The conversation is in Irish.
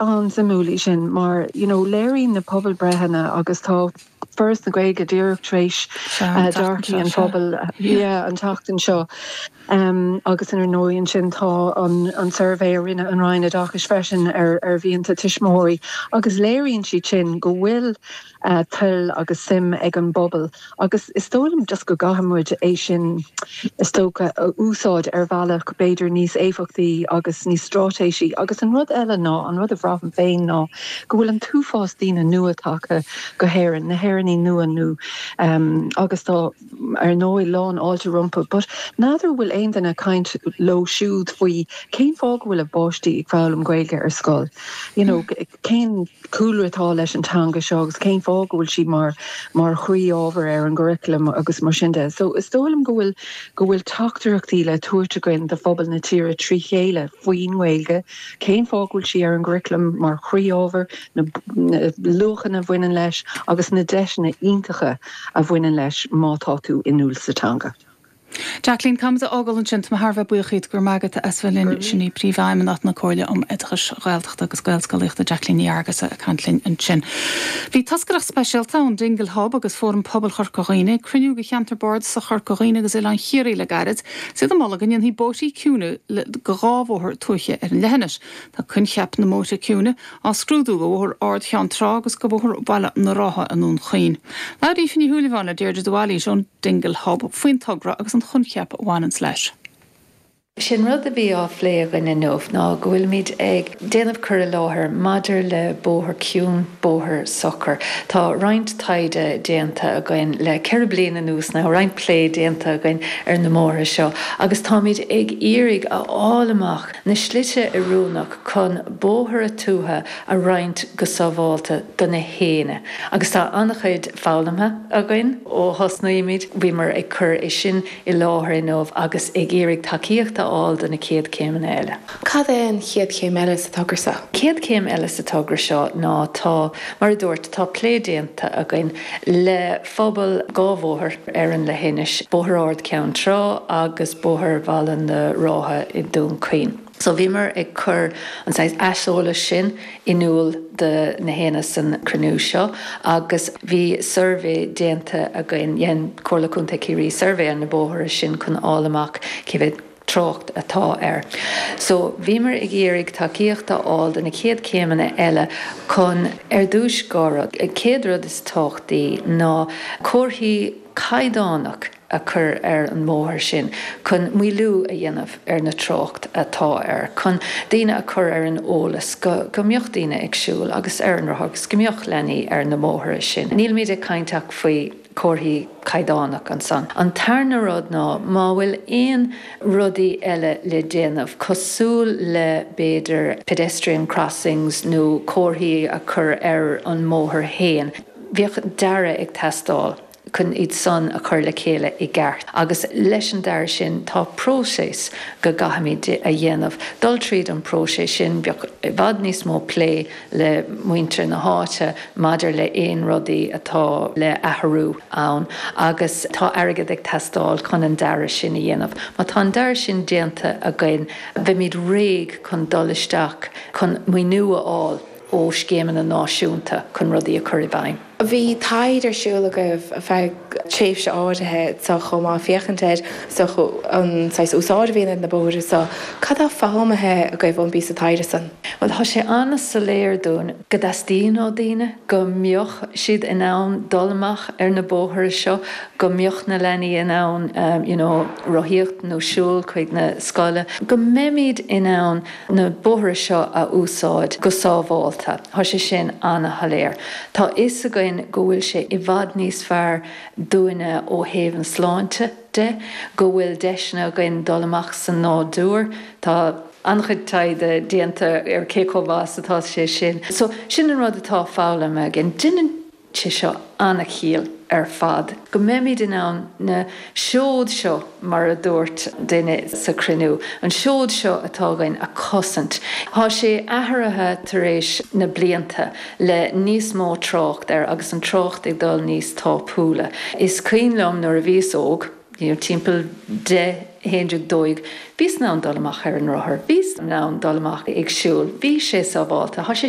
An-suimiúil í sin mar you know léiríonn na pobalbreitheanna agus tá Foras na Gaeilge díreach tar éis dearcthaí an phobail yeah an tseachtain seo agus ar ndóigh ansin tá an suirbhé a rinne an Roinn Oideachais freisin ar ar mhianta tuismitheoirí agus léiríonn siad sin go bhfuil toil agus suim ag an bpobal agus is dóigh liom just go gcaithfidh muid é sin is dócha a úsáid ar bhealach b'fhéidir níos éifeachtaí agus níos straitéisí agus an rud eile ná, an rud a bhraithim féin ná go bhfuil an t-uafás daoine nua tagtha go hÉirinn, na hÉireannaigh nua nó agus tá ar ndóigh lán fháilte rompu but n'fheadar an bhfuil aon duine ag caint leo siúd faoi cén fáth go bhfuil a bpáistí ag foghlaim Gaeilge ar scoil, you know cén cúlra atá leis an teanga seo agus cén fáth go bhfuil sí mar mar chroí-ábhar ar an gcuraclam agus mar sin de. So is dóigh liom go bhfuil go bhfuil teachtaireachtaí le tabhairt againn do phobal na tíre trí chéile faoin nGaeilge, cén fáth go bhfuil sí ar an gcuraclam mar chroí-ábhar, na na luachanna a bhaineann leis agus na deiseanna iontacha a bhaineann leis má tá tú inniúil sa teanga. Jacqueline, caithfimid a fhágáil ansin. Tá mé thar a bheith buíoch díot, go raibh maith agat as bheith linn. Sin í Príomhfheidhmeannach na Comhairle um Oideachais Ghaeltachta agus Gaelscolaíochta, Jacqueline Ní Fhearghusa, ag caint linn ansin. Bhí toscaireacht speisialta ón Dingle Hub agus Fóram Pobail Chorca Dhuibhne ag cruinniú de Cheantar Bardasach Chorca Dhuibhne agus Oileán Chiarraí le gairid. Is iad ag moladh go ndéanfaí bóithrí ciúine de dhá bhóthar tuaithe ar an leithinis. Tá coincheap na mbóithre ciúine á scrúdú do Bhóthar Ard Cheann Trá agus do Bhóthar Bhaile na Rátha i nDún Chaoin. Labhair Aoife Ní Shúilleabháin le Deirdre de Bhailís ón Dingle Hub faoin togra agus an choincheap a bhaineanns leis. Sé an rud a bhí á phlé againn inniu ná go bhfuilimid ag déanamh cur i láthair maidir le bóthar ciúin, bóthar socair. Tá roinnt taighde déanta againn le 4 bliana anuas nó roinnt plé déanta againn ar na mbóithre seo agus táimid ag iarraidh a fháil amach na slite oiriúnach chun bóithre tuaithe a roinnt go sábháilte do na héinne agus tá an-chuid foghlamtha againn ó thosnaímid. Bhíomar ag cur é sin i láthair inniu agus ag iarraidh tacaíocht a fháil do na chéad chéimeanna eile. Cad é an chéad chéim eile sa togra seo? Chéad chéim eile sa togra seo ná tá, mar a dúirt, tá plé déanta againn le phobal dhá bhóthar ar an leithinis, Bóthar Ard Ceann Trá agus Bóthar Bhaile na Rátha i nDún Chaoin. So bhíomar ag cur an saghas aiseolais sin in iúl do na héinne san cruinniú seo agus bhí suirbhé déanta againn, dhein Comhairle Contae Chiarraí suirbhé ar na bóithre sin chun fháil amach cé mhéad trácht atá air. So bhíomar ag iarraidh tacaíocht a fháil do na chéad chéimeanna eile chun, ar dtús, dhá rud. An chéad rud is tábhachtaí ná comharthaí caighdeánach a chur ar an mbóthar sin chun maolú a dhéanamh ar na trácht atá air, chun daoine a chur ar an eolas go go mbeadh daoine ag siúl agus ar an rothar agus go mbeadh leanaí ar na mbóithre sin. Nílimid ag caint ach faoi comharthaí caighdeánach ansan. An tarna rud ná má bhfuil aon rudaí eile le déanamh, cosúil le b'fhéidir pedestrian crossings nó comharthaí a chur ar an mbóthar fhéin, bheadh dearadh ag teastáil chun iad san a chur le chéile i gceart. Agus leis an dearadh sin tá próiseas go gcaithfimid a dhéanamh. Dul tríd an próiseas sin, bheadh i bhfad níos mó plé le muintir na háite maidir le aon rudaí atá le athrú ann agus tá airgead ag teastáil chun an dearadh sin a dhéanamh. Má tá an dearadh sin déanta againn, beimid réidh chun dul isteach chun maoiniú a fháil ó scéimeanna náisiúnta chun rudaí a chur i bhfeidhm. Bhí taighde ar siúl agaibh feadh tréimhse áirithe so chomh maith, féachaint ar so an saghas úsáid a bhíonn ar na bóithre so. Cad tá foghlamtha agaibh ón bpíosa taighde san? Bhuel, tá sé an-soiléir dúinn go dteastaíonn ó daoine go mbeadh siad in ann dul amach ar na bóithre seo, go mbeadh na leanaí in ann you know rothaíocht nó siúl chuig na scoile, go mbeimid in ann na bóithre seo a úsáid go sábhálta. Tá sé sin an-shoiléir. Tá fhios againn go bhfuil sé i bhfad níos fearr dúinne ó thaobh na sláinte de, go bhfuil deiseanna againn dul amach sa nádúr. Tá an-chuid taighde déanta ar cé chomh maith is atá sé sin. So, sin an rud atá foghlamtha againn. Déanann. sé seo an-chiall ar fad, go mbeimid in ann na seod seo, mar a dúirt duine sa chruinniú, an seod seo atá againn a chosaint. Tá sé athraithe tar éis na blianta le níos mó trácht air agus an trácht ag dul níos tápúla. Is cuimhin liom nuair a bhíos óg, you know timpeall 10. 11, 12, bhíos in ann dul amach ar an rothar, bhíos in ann dul amach ag siúl, bhí sé sábhálta. Tá sé sin.